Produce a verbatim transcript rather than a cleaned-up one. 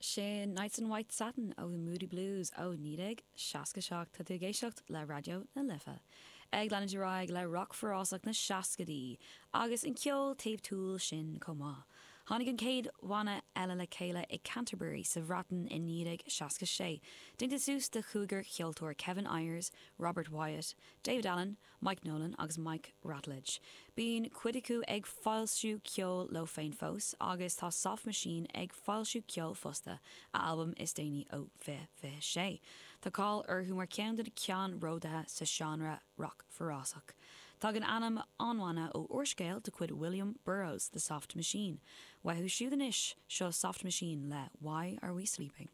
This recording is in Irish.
Sin Nights in White Satin ó The Moody Blues ó naoi déag seasca seacht tá tú ag éisteacht le Raidió na Life. Ag leanúint ar aghaidh le rock forásach na seascaidí agus an ceol taobhtúil sin chomh maith. Tháinig an chéad bhanna eile le chéile i Canterbury sa Bhreatain i naoi déag seasca sé. Déanta suas de chúigear ceoltóir Kevin Ayers, Robert Wyatt, David Allen, Mike Nolan agus Mike Ratledge. Bíonn cuid acu ag foilsiú ceol leo féin fós agus tá Soft Machine ag foilsiú ceol fosta a albam is déanaí ó fiche fiche sé. Tá cáil orthu mar ceann de na ceannródaithe sa seánra rock forásach. Tagann ainm an bhanna ó úrscéal de chuid William Burroughs, The Soft Machine. Uathu siúd anois seo Soft Machine le Why Are We Sleeping?